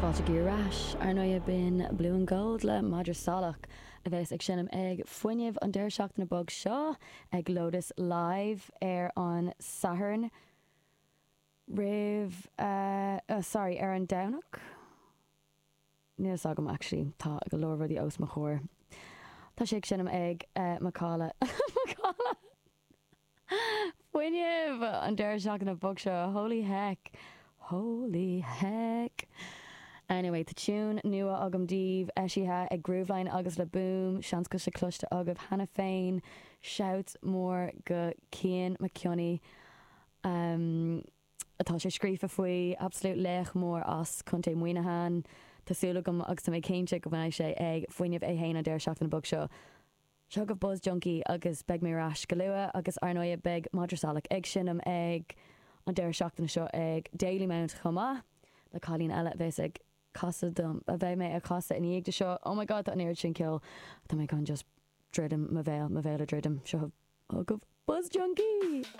Fáilte ar ais. Ar ndóigh b'in Blue and Gold le Madra Salach a bheas ag seinm ag Fuinneamh an deireadh seachtaine beag seo ag Lotus Live ar an Satharn roimh eh sorry ar an Domhnach? Níl fhios agam actually tá go leor rudaí os mo chomhair. Tá sé ag seinm ag Macalla Macalla! Fuinneamh! An deireadh seachtaine beag seo, holy heck! Holy heck! Anyway, tá tune nua agam daoibh, eisithe ag Grooveline agus Le Boom, seans go bhfuil sé cloiste agaibh cheana féin. Shout mór go Cian McKionney atá sé scríofa faoi, absolute laoch mór as Contae Muineachán. Tá súil agam agus tá mé cinnte go mbeidh sé ag Fuinneamh é fhéin an deireadh seachtaine beag seo. Seo chugaibh Buzz Junkie agus beidh mé ar ais go luath agus ar ndóigh beidh Madra Salach ag seinm ag an deireadh seachtaine seo ag Dalymount chomh maith le cailín eile a bheas ag casadh dom, a bheidh mé ag casadh ina dhiaidh de seo. Oh my god tá an oiread sin ceoil tá mé chun just druidim mo bhéal, mo bhéal a druidim. Seo chugaibh Buzz Junkie!